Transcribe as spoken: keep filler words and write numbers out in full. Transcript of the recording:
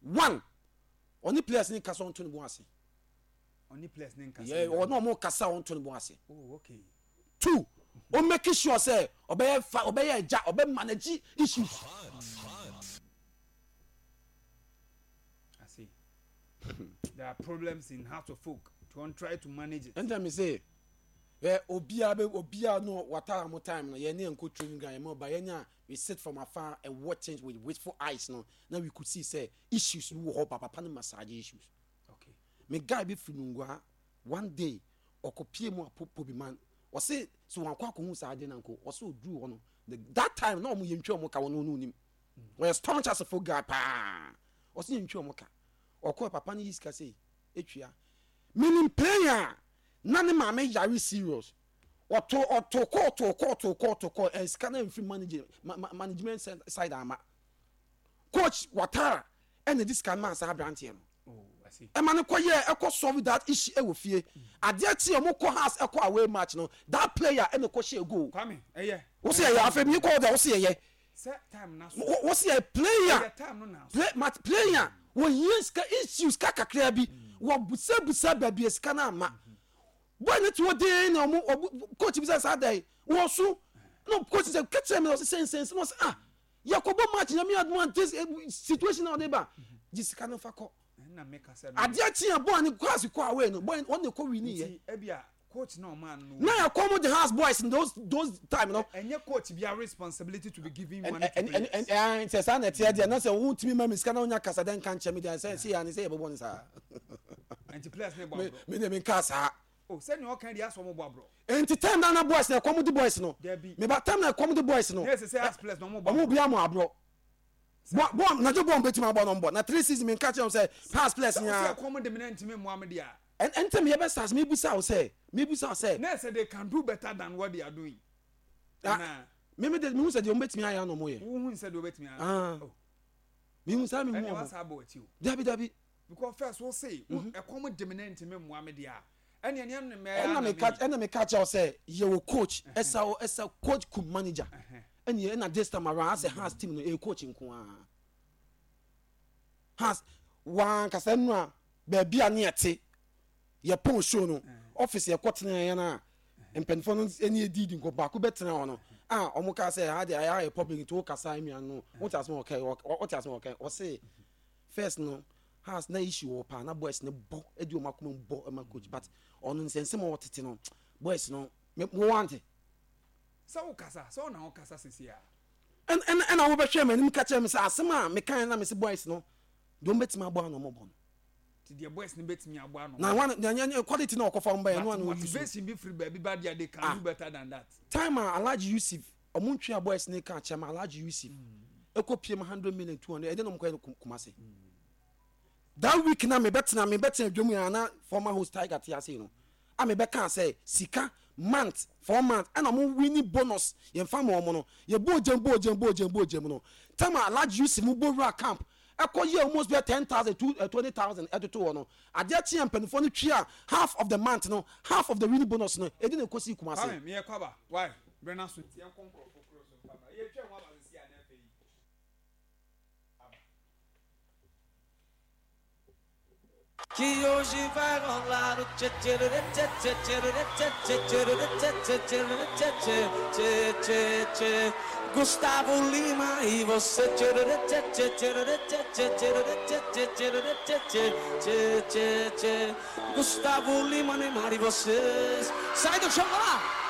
One, ɔne players ne kasa, ɔnto ne bo ase. Ɔne players ne nkasa. Yɛ ɔne ɔmo kasa, ɔnto ne bo ase. Oh, okay. Two, o make sure sɛ ɔbɛyɛ fa, ɔbɛyɛ ɛgya, ɔbɛ manage issues. I see. There are problems in Hearts of Oak to try to manage it. Ɛnna mi sɛ ɛ obiara bɛ obiara no watara mo time no, yɛn ne yɛn ko training ground yɛn mo ba yɛn nya, we sit from afar and watch things with wistful eyes no, na we could see say issues bi wɔ hɔ ba papa no massage issues. Okay. Me guy bi firi Nungua, one day ɔkɔ pie mu a po bi man, ɔse so wɔn akɔ akɔhu saa ade na nko ɔse oduru hɔ no, the that time na ɔmo yɛ ntwa ɔmo ka, wɔn no nim wɔyɛ staunch asefo guy paa. Ɔse yɛ ntwa ɔmo ka, ɔkɔ papa no yi sika sɛ etua meaning player na ne maame yare serious, ɔto ɔto kɔ ɔto kɔ ɔto kɔ ɔto kɔ ɛ sika na nfiri manage ma ma management side ama coach Watara, ɛna di sika no maa saa aberanteɛ no. Oh, I see. Ɛma no kɔ yɛ ɛkɔ solve that issue ɛwɔ fie. Adeɛ kye ɔmo kɔ house, ɛkɔ away match no, that player ɛna kɔ hyɛ goal. Kwame, ɛyɛ. Wosi yɛ yɛ afɛ mi kɔ ɔda, wosi yɛ yɛ Sɛ time na so. Wosi yɛ player. Ɛyɛ time no na so. Play mat player wɔhia sika issues ka kakra bi, wɔ busabusa baabi a sika no ama boy ne te hɔ den na ɔmo ɔmo coach bi sɛ saa da yi wɔ so na coach sɛ kɛkyerɛ mi na ɔsɛ sɛnsɛn na ɔsɛ ah, yɛkɔbɔ match, Nyame adum a, this eh, situation na ɔde ba gye sika no fa kɔ. Ɛnna meka sɛ no. Adeɛ kye a boy ne class kɔ away no, boy ɔne kɔ win yɛ. Nti ebia coach na ɔmaa no. Na yɛ kɔn mo the house boys in those those time no. Ɛnyɛ coach bi a responsibility to be giving money to ɛn players. ɛn ɛn sɛ saa na ɛteɛ deɛ, na sɛ wotumi ma mi sika na wonya kasa dɛ nka nkyɛn mi deɛ sɛ sɛ yɛ ani sɛ yɛbɛbɔ ne saa. Nti players ne bɔ me aborɔ. Me de mi nka saa. Oh, sɛnea ɔka deɛ asɔ ɔmo bɔ aborɔ. Nti time na na boys na ɛkɔm di boys no. Dabi. Meba time na ɛkɔm di boys no. Ne ɛsɛ sɛ as players na ɔmo bɔ ɔmo aborɔ. bi amu aborɔ bɔ bɔ na gye bɔ mbɛtumi abɔ no mbɔ na three season mi nka kyerɛ wɔn sɛ pass players sɛ ɔsɛ nyinaa. Ɛkɔm de mi na ntumi mmoa mi deɛ. ɛn ɛntɛm yɛ bɛ start, mi busa wo sɛ mi busa wo sɛ. Na ɛsɛ they can do better than what they are doing. Ah, Ana mi mi de mi hu sɛ deɛ ɔmo bɛtumi ayɛ ano ɔmo yɛ. Wohu sɛ deɛ ɔbɛtumi ayɛ? Ah. Oh, Mi hu saa, mi hu ɛnna ɔmo. wasa abɔ akyi o. Dabi, dabi. Because first wo say ɛkɔm de mi na ntumi mmoa mi deɛ a, ɛnna ɛnea no mɛ. ɛna mi ka ɛna mi ka kyerɛ wo sɛ yɛwɔ coach ɛsa o ɛsa coach kum manager, ɛna ɛna this time around asɛ Hearts team no ɛyɛ coach nko ara. Hearts wankasa nu a baabi a ne yɛte yɛ pɔn show no office, yɛ kɔ tena yɛn a mpanyinfoɔ no ɛni edi di nkɔ baako bɛ tena hɔ no a ɔmo ka sɛ ha de ayɛ ayɛ public, nti o kasa nua no wote asɛm ɔkɛ, ɔte asɛm ɔkɛ. Ɔse first no Hearts na issue wɔ paa na boys ne bɔ ɛdi ɔmo akoma mu bɔ ɛma coach, but ɔno nsɛnsɛm a ɔtete no boys no me mo wante. Sɛ wo kasa sɛ ɔna wo kasa sisi a. ɛna ɛna ɛna wobɛhwɛ m'anim ka kyerɛ me sɛ asɛm a meka na me sɛ boys no deɛ ɔmo bɛtumi abɔ ano ɔmo bɔ no. Ti deɛ boys no bɛtumi abɔ ano. Na one na nyɛ quality na ɔkɔfa ɔmo ba yɛ no but ano ɔyi so. Motivation bi firi baabi ba deɛ, they can Ah. do better than that. Time a Alhaji Yusuf ɔmo ntwe a boys ne ka kyerɛ ma Alhaji Yusuf ɛkɔ pie ma hundred million, two hundred, ɛde na ɔmo kɔ yɛ no Kum- kumase that week na mebɛtena mebɛtena dwom yɛn na former host Tiger te ase no a mebɛka sɛ sika month four months, ɛna ɔmo winning bonus yɛn fa ma ɔmo no, yɛ bɔ ogyem bɔ ogyem bɔ ogyem bɔ ogyem no, time a Alhaji Yusuf mo bɔ wura camp ɛkɔ yɛ almost bɛ ten thousand to twenty thousand ɛtoto hɔ no, adeɛ kye yɛn mpanyinfoɔ no twi a half of the month no, half of the winning bonus no edi na ekosi Kumase. Kwame, meyɛ kwaba why brɛ na so nti yɛnkɔ nkurɔfoɔ kuro so mfa ma yɛtwa mu aba sisi a na afei aba. Que hoje vai rolar o tchê tchê tchê tchê tchê tchê tchê tchê tchê tchê tchê tchê tchê Gusttavo Lima e você tchê tchê tchê tchê tchê tchê tchê tchê tchê tchê tchê tchê Gusttavo Lima, Neymar e vocês. Sai do chão lá!